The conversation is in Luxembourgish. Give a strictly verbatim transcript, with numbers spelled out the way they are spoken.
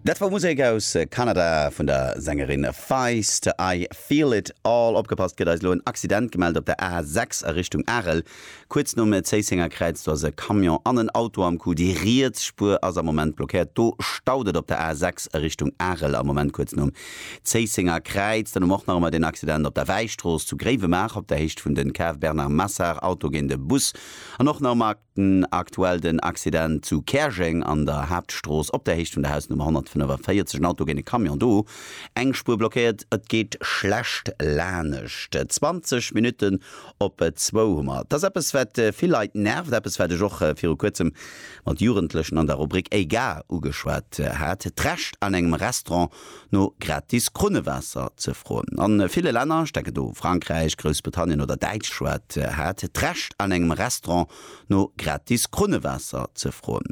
Dat war Musek aus Kanada vun der Sängerin Feist I feel it all opgepasst gëtt eis lo en Accident gemellt op der A sechs a Richtung Arel. Kuerz nom Zéissenger Kräiz do ass e Camion an en Auto am Coup. Déi riets Spuer ass am Moment blockéiert. Do staut et op der A sechs a Richtung Arel am Moment kuerz nom Zéissenger Kräiz. Dann hu mer och nach ëmmer den Accident op der Wäistrooss zu Gréiwemaacher op der Héicht vun den Cave Bernard Massard Auto géint e Bus an och nach ëmmer aktuell den Accident zu Käerjeng an der Haaptstrooss op der Héicht vun der Hausnummer honnertfënnefenvéierzeg en Auto géint e Camion do eng Spuer blockéiert et geet schlecht laanscht. zwanzeg Minutten op zwou hu mer. Dat ass eppes wat vill Leit nervt, eppes wat ech och viru kuerzem mat Jugendlechen an der Rubrik Ega ugeschwat hat d'Recht an engem Restaurant no gratis Krunnewaasser ze froen. An ville Länner ech denken do Frankräich, Groussbritannien oder Däitschland hat d'Recht an engem Restaurant no gratis Krunnewaasser ze froen.